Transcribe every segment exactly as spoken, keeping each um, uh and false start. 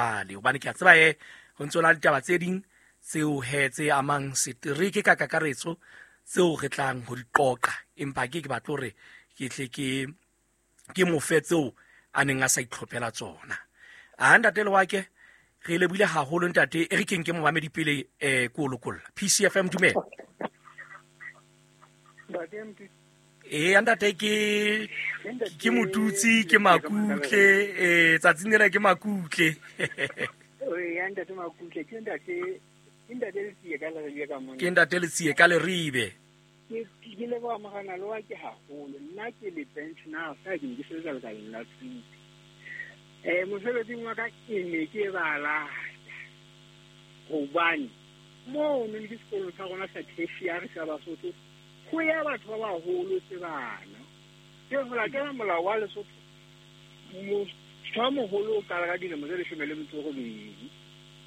jwale hobane ke a tseba e ho ntso na ditaba tse ding tseo he tse amang setereke ka kakaretso tseo re tlang ho di qoqa empa ke ke batla hore ke tle ke ke mo fe tseo a neng a sa itlhophela tsona. A ntate Lewake re lebohile haholo ntate e re keng ke momamedi pele eh ko lokolla. P C F M dumela. Eh ntate ke ke motutsi ke makutle eh tsatsing lena ke makutle. Eh ntate makutle ke ntate ke ntate Letsie ka Leribe ka mona. Ke ntate Letsie ka Leribe. Ke ke leboha morena Lewake haholo nna ke le pensioner sa ke ke sebetsa lekaleng la thuto. Eh mosebetsing wa ka ke ne ke ba lata hobane moo ne ke sekolong sa rona sa tertiary sa Basotho ho ya batho ba baholo se bana ke ho latela molao wa Lesotho motho a moholo o qala ka dilemo tse leshome le metso e robedi.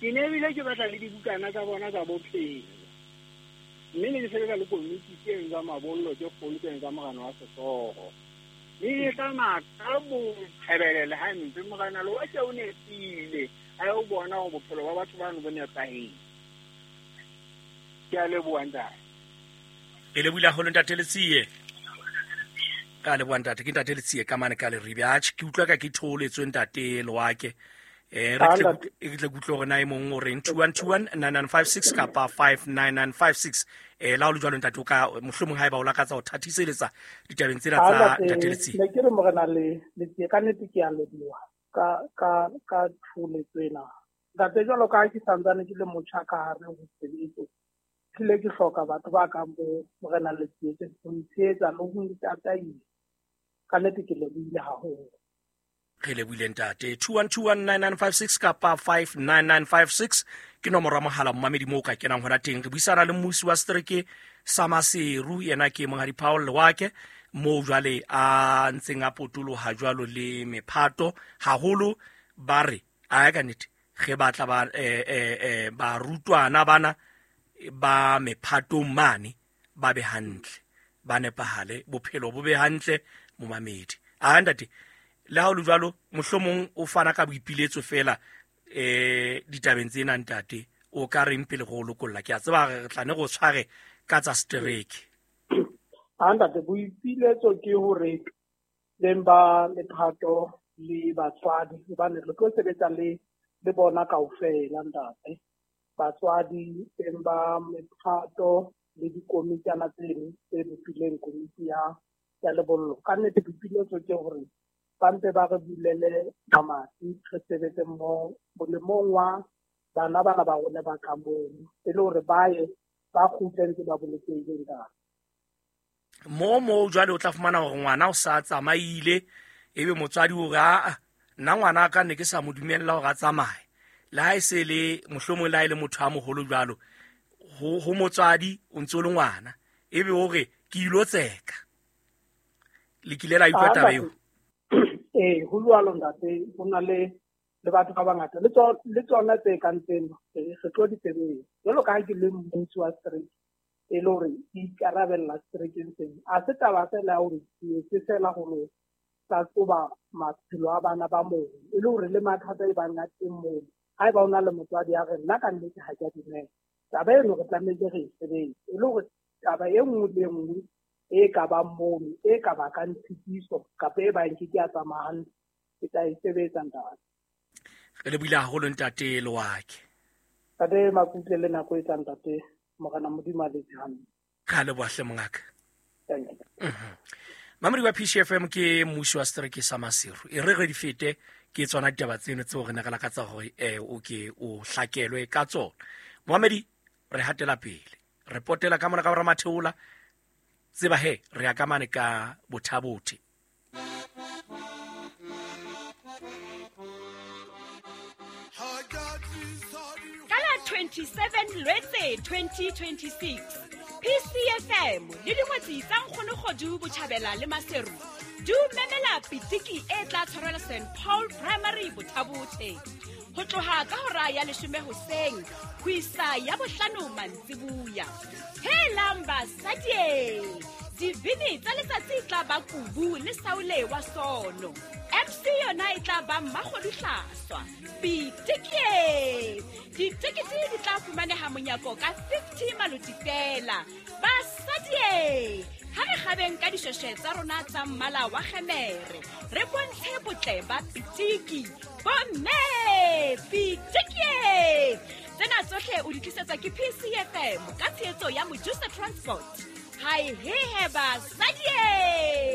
Ke ne ebile ke batla le dibukana tsa bona tsa bophelo mme ne ke sebetsa le komiti tseno tsa mabollo tse kgolo tseno tsa morena wa sehlooho mme e tsamaya ka botshebelele hampe. Morena Lewake o nepile a yo bona hore bophelo ba batho bano bo nepahetse. Ke a leboha ntate. E lebohile haholo ntate Letsie. Ka leboha ntate ke ntate Letsie ka mane ka Leribe. Atjhe ke utlwa ka ke thoholetswe ntate Lewake. Eh re tle re tle kutlwe hore na e mong o reng two one two one nine nine five six kapa five nine nine five six. Eh la o le jwalo ntate o ka mohlomong haeba o lakatsa ho thathiseletsa ditabeng tsena tsa ntate Letsie. Ne ke re morena le Letsie ka nnete ke a leboha ka ka ka thoholetso ena. Ntate jwalo ka ha ke santsane ke le motjha ka hare ho sebetso tlile ke hloka batho ba kang bo morena Letsie ho ntshehetsa le ho ntataisa. Ka nnete ke lebohile haholo. Re lebohile ntate. two one two one nine nine five six kapa five nine nine five six ke nomoro ya mohala momamedi moo o ka kenang hona teng. Re buisana le mmusi wa setereke sa Maseru yena ke Monghadi Paul Lewake moo jwale a ntseng a potoloha jwalo le mephato haholo ba re a ya ka nnete ge batla ba eh eh eh barutwana bana ba mephatong mane ba be hantle ba nepahale bophelo bo be hantle momamedi. A ntate le ha o le jwalo mohlomong o fana ka boipiletso fela eh ditabeng tsena ntate o ka reng pele go lokolla ke a tseba re tla ne go tshware ka tsa setereke. A ntate boipiletso ke hore beng ba lephato le batswadi hobane re tlo sebetsa le le bona kaofela ntate. Batswadi beng ba mephato le dikomitana tseno tse bopileng komiti ya ya lebollo. Ka nnete boipiletso ke hore ba mpe ba re bulele mamati re sebetse mmoho molemong wa bana bana ba rona ba ka mono e le hore ba ye ba kgutle ntse ba bolokehile ntate. Mo mo jwale o tla fumana hore ngwana o sa tsamaile ebe motswadi o re a nna ngwana ka ne ke sa mo dumella hore a tsamaye le ha e se le mohlomong le ha e le motho a moholo jwalo ho ho motswadi o ntse o le ngwana ebe o re ke ilo tseka le kile la utlwa taba eo. Eh ho jwalo ntate ho na le le batho ba bangata le tsona le tsona tse kang tseno re tlo di sebetsa jwalo ka ha ke le mmusi wa setereke e le hore ke ikarabella seterekeng sena. A se taba fela ya hore ke etse fela hore hlahloba maphelo a bana ba moo e le hore le mathata e bang a teng moo haeba o na le motswadi ya re nna ka nnete ha ke a dumela taba eno re tlamehile re e sebetse e le hore taba e nngwe le e nngwe e ka bang mono e ka bakang tshitiso kapa e bang ke ke a tsamaya hantle ke tla e sebetsa ntate. Re lebohile haholo ntate Lewake. Ntate Makutle le nako e tlang ntate morena Modimo a letse hantle. Ka leboha hle mongaka. Thank you. Mhm. Mamedi wa P C F M ke mmusi wa setereke sa Maseru. E re re di fete ke tsona ditaba tseno tseo re ne re lakatsa hore eh o ke o hlakelwe ka tsona. Momamedi re hatela pele. Re potela ka mona ka bora Matheola tseba he re ya ka mane ka Bothabothe. Ka la twenty-seven Lwetse twenty twenty-six P C F M le dingwetsi tsa Nkgono Kgodu Botjhabela le Maseru di memela pitiki e tla tshwarelwa Saint Paul Primary Bothabothe ho tloha ka hora ya leshome hoseng ho isa ya bohlano mantsibuya. Helang basadi, dibini tsa letsatsi tla ba Kubu le Saule wa Sono, M C M C yona e tla ba Mmakgoduhlaswa. Pitiki! Ditekete di tla fumaneha monyako ka fifty maloti fela. Basadi, ha re kgabeng ka dishweshwe tsa rona tsa mmala wa kgemere, re bontshe botle ba pitiki. Bomme, pitiki! Tsena tsohle o di tlisetswa ke P C F M ka tshehetso ya Mojusa Transport. Hai hehe basadi!